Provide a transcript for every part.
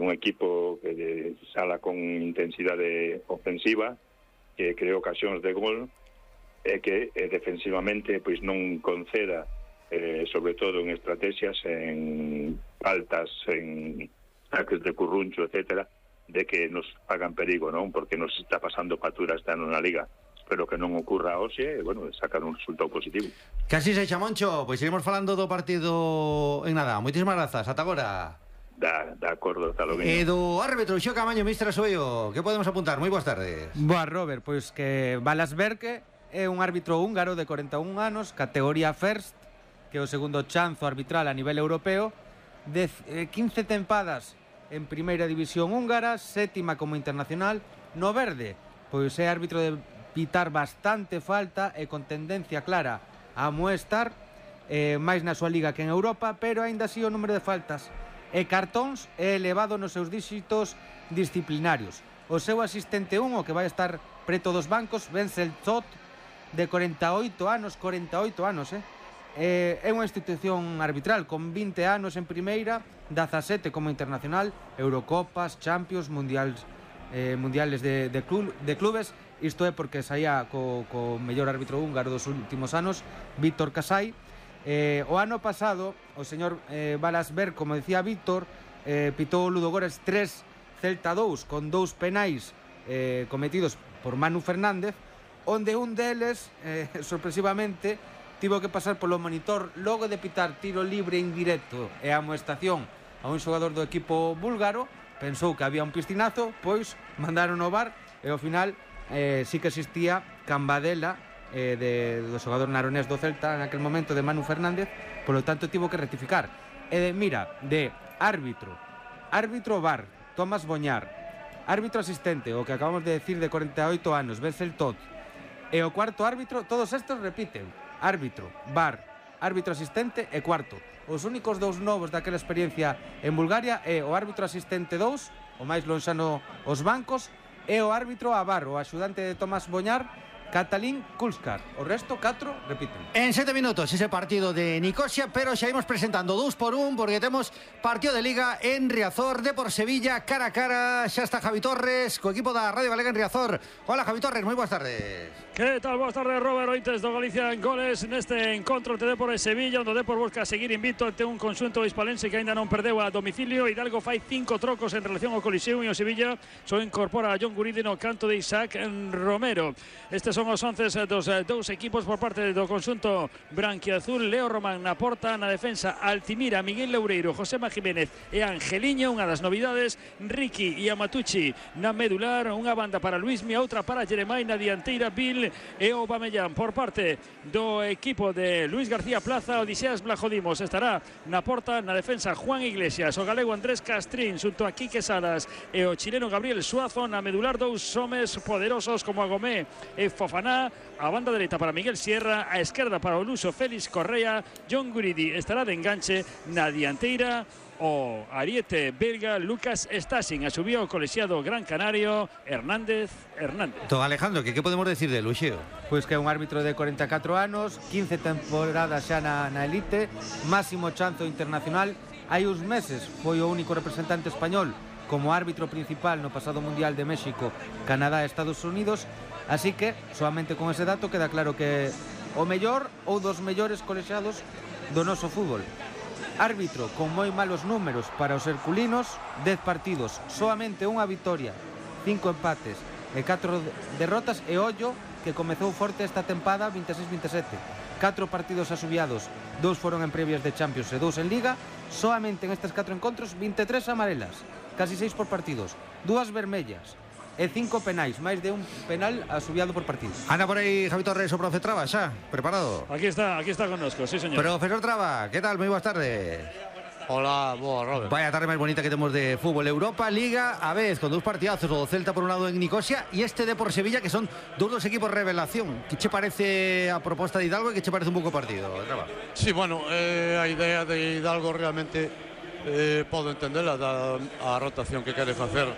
un equipo que sala con intensidade ofensiva, que creou ocasións de gol, e que defensivamente pois non conceda, sobre todo en estrategias, en faltas, en ataques de curruncho, etcétera, de que nos hagan perigo, non? Porque nos está pasando factura este ano na Liga. Espero que non ocurra hoxe, e, bueno, sacar un resultado positivo. Casi se xa, Moncho, pois iremos falando do partido en nada. Moitísimas grazas, ata agora. De acordo, está lo bien. E do árbitro, Xo Camaño, Mistra Soio, que podemos apuntar? Moi boas tardes. Boa, Robert, pois que Balas Berke é un árbitro húngaro de 41 anos, categoría First, que é o segundo chanzo arbitral a nivel europeo, de 15 tempadas en primeira división húngara, sétima como internacional. No verde, pois é árbitro de pitar bastante falta e con tendencia clara a amoestar, máis na súa liga que en Europa, pero aínda así o número de faltas e cartóns é elevado nos seus díxitos disciplinarios. O seu asistente 1, o que vai estar preto dos bancos, Wenzel Zott, de 48 anos, é unha institución arbitral con 20 anos en primeira, 17 como internacional, Eurocopas, Champions, mundiales de clubes. Isto é porque saía co mellor árbitro húngaro dos últimos anos, Víctor Kasai. O ano pasado, o señor Balas Berke, como decía Víctor, pitou o Ludogorets 3, Celta 2, con 2 penais cometidos por Manu Fernández, onde un deles, sorpresivamente, tivo que pasar polo monitor logo de pitar tiro libre indirecto e amoestación a un xogador do equipo búlgaro. Pensou que había un piscinazo, pois mandaron ao VAR e ao final sí que existía cambadela do xogador naronés do Celta en aquel momento, de Manu Fernández, polo tanto tivo que rectificar. E mira, de árbitro VAR, Tomás Boñar, árbitro asistente, o que acabamos de decir, de 48 anos, Wenzel Zott, e o cuarto árbitro, todos estes repiten: árbitro, VAR, árbitro asistente e cuarto. Os únicos dous novos daquela experiencia en Bulgaria é o árbitro asistente 2, o máis lonxano os bancos, e o árbitro a VAR, o axudante de Tomás Boñar, Katalin Kulskar. O resto, 4, repiten. En 7 minutos ese partido de Nicosia, pero xa imos presentando 2 por 1, porque temos partido de Liga en Riazor, Depor Sevilla, cara a cara. Xa está Javi Torres, co equipo da Radio Galega en Riazor. Hola, Javi Torres, moi boas tardes. Que tal? Boas tardes, Robert. Ointes do Galicia en goles neste encontro de Depor e Sevilla, onde o Depor busca seguir invicto ante un conxunto hispalense que aínda non perdeu a domicilio. Hidalgo fai 5 trocos en relación ao Coliseo, e o Sevilla só incorpora a John Guridi no canto de Isaac Romero. Estes son os 11 dos dous equipos por parte do conxunto branquiazul. Leo Román na porta, na defensa Altimira, Miguel Loureiro, Josema Jiménez e Angeliño. Unha das novidades, Ricky e Amatucci na medular, unha banda para Luismi, outra para Jeremai na dianteira, Bill e Aubameyang. Por parte do equipo de Luis García Plaza, Odiseas Blajodimos estará na porta, na defensa Juan Iglesias, o galego Andrés Castrín xunto a Quique Salas e o chileno Gabriel Suazo. Na medular, dous homes poderosos como Agomé e Fofaná. A banda dereita para Miguel Sierra, a esquerda para o luso Félix Correa. John Guridi estará de enganche. Na dianteira, o ariete belga Lucas Stasin. A subió o colexiado Gran Canario Hernández. Don Alejandro, que podemos decir de Luxeo? Pois que é un árbitro de 44 anos, 15 temporadas xa na elite, máximo chanzo internacional. Hai uns meses foi o único representante español como árbitro principal no pasado Mundial de México, Canadá e Estados Unidos. Así que, solamente con ese dato, queda claro que o mellor ou dos mellores colexiados do noso fútbol. Árbitro con moi malos números para os herculinos, 10 partidos, solamente unha vitoria, 5 empates e 4 derrotas. E ollo que comezou forte esta tempada, 26-27. 4 partidos asubiados, 2 foron en previas de Champions e 2 en Liga. Solamente en estes 4 encontros, 23 amarelas, casi 6 por partidos, 2 vermellas e 5 penais, máis de un penal asubiado por partido. Anda por aí Javi Torres, o profe Traba, xa, preparado? Aquí está connosco, sí, señor. Profesor Traba, que tal? Moi boas tardes. Hola, boa, Robert. Vaya tarde máis bonita que temos de fútbol. Europa, Liga, a vez, con 2 partidazos, o Celta por un lado en Nicosia e este Depor Sevilla, que son dos equipos revelación. Que che parece a proposta de Hidalgo e que che parece un pouco partido, Traba? Sí, bueno, a idea de Hidalgo realmente podo entenderla, a rotación que quere facer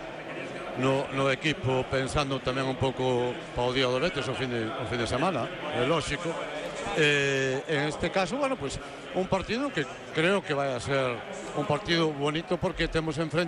no equipo, pensando tamén un pouco para o día do Betis, o fin de semana, é lógico. En este caso, bueno, pues un partido que creo que vai a ser un partido bonito, porque temos enfrente